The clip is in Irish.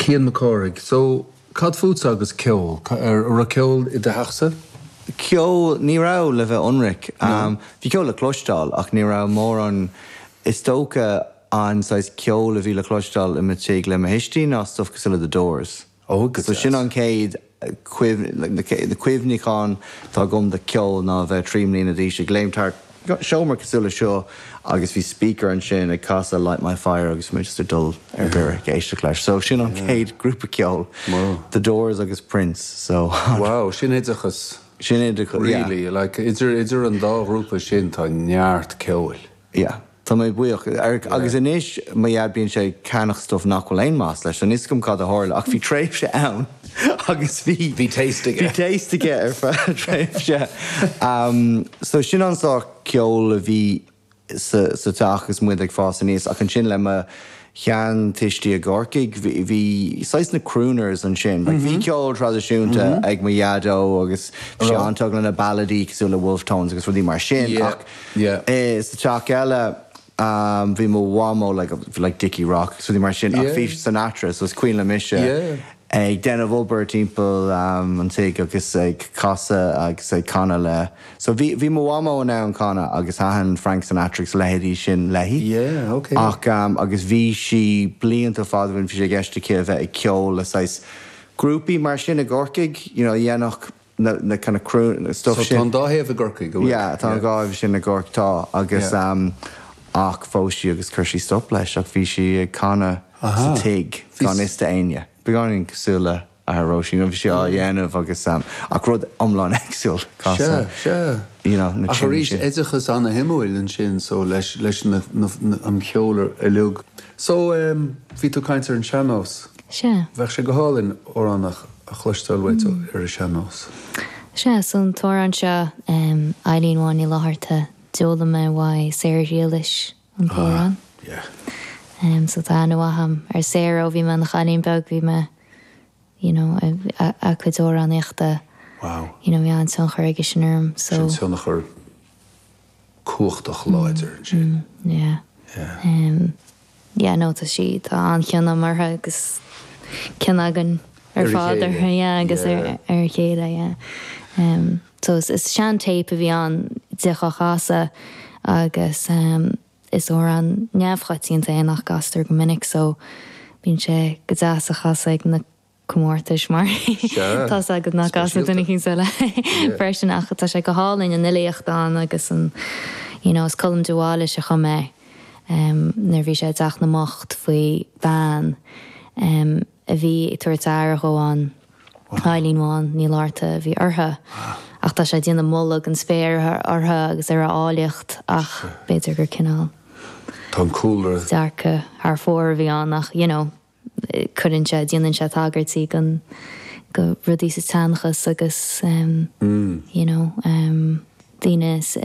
Cian Mac Cárthaigh, So, cad fútsa agus ceol? An raibh ceol i do theachsa? Ceol, ní raibh, le bheith ionraic. Bhí ceol le cloisteáil ach ní raibh mórán, is dócha an saghas ceol a bhí le cloisteáil i mo tigh le mo thuistí ná stuff cosúil le The Doors. Ó, go So sin deas. an chéad cuimhne, na cuimhneacháin atá agam de cheol ná a bheith 3 mbliana d'aois ag léimt thart seomra cosúil le seo agus bhí speaker ansin ag casadh Light My Fire agus mé just ag dul ar mire ag éisteacht leis. So sin an chéad grúpa ceoil, The Doors agus Prince. So. Wow, sin oideachas. Sin oideachas, yeah. Really, like idir idir an dá ghrúpa sin tá neart ceoil. Yeah. Tá mé buíoch. Agus anois, mo dhaid, bíonn sé ag ceannach stuff nach bhfuil aon maitheas leis. So níl 'fhios agam cad a tharla ach bhí tréimhse ann agus bhí. Bhí taste aige. Bhí taste aige ar feadh tréimhse. So sin an sórt ceoil a bhí sa sa teach agus muid ag fás aníos. Ach ansin le mo sheantuistí i gCorcaigh, bhí bhí saghas na crooners ansin. Like bhí ceol traidisiúnta ag mo dhaideo agus bhí sé an-tógtha le na balladaí cosúil le Wolfe Tones agus rudaí mar sin ach Sa teach eile bhí mo mhamó like like Dickie Rock agus rudaí mar sin ach bhí Sinatra so is cuimhin liom mise ag déanamh obair timpeall an tigh agus ag casadh agus ag canadh le so bhí bhí mo mhamó in ann canadh agus thaitin Frank Sinatra agus a leithéidí sin léi ach agus bhí sí blianta fada ó shin bhí sé i gceist aici a bheith ag ceol le saghas grúpaí mar sin i gCorcaigh you know a dhéanfadh na na kind of croon stuff So sin. tá an dá thaobh i gCorcaigh, an bhfuil? Yeah, tá an dhá thaobh sin i gCorcaigh, tá, agus Yeah. ach phós sí agus chuir sí stop leis ach bhí sí ag canadh sa Aha. tigh Bhí gan fhios d'éinne. Beagáinín cosúil le athair Róisín, bhí sí á dhéanamh agus ach rud iomlán éagsúil, Sea, casadh, sea. you know, na Ach tiúin arís, sin. oideachas ana-shuimiúil ansin so leis leis na na an cheol uilig. So bhí tú ag caint ar an sean-nós. Sea. Bheadh sé go hálainn amhrán a a chloisteáil uait ar an sean-nós. Sea, so an t-amhrán seo, Eilín Bhán Ní Fhlatharta, d'fhoghlaim mé uaidh Sarah Ghriallais an t-amhrán. Ah, yeah. So tá aithne mhaith agam ar Sarah ó bhí mé ina chailín beag, bhí mé, you know, a cuid amhránaíochta, Wow. you know, bhí an-tionchar aige sin orm, so. Sin tionchar cumhachtach láidir ansin. Yeah. Yeah. Yeah no tá sí, tá an-chion agam uirthi agus cion againn ar fad uirthi yeah agus ar a chéile yeah. So is sean téip a bhí ann di á chasadh agus is amhrán neamhchoitianta é nach gcastar go minic so bíonn sé go deas a chasadh ag na comórtais mar tá's agat nach gcasfaidh duine éicint eile freisin ach tá sé go hálainn an fhilíocht ann agus an you know is Colm de Bhailís a chum é nuair a bhí sé i dTeach na mBocht faoi bhean a bhí ag tabhairt aire dhó ann Eilín Bhán Ní Fhlatharta a bhí uirthi ach tá sé ag déanamh moladh don spéir uirthi agus ar a áilleacht ach b'fhéidir gur cineál Tá an cúlra. dearcadh thar fóir a bhí ann ach you know cuireann sé, déanann sé tagairtí don, go rudaí sa tseanchas agus you know daoine sa.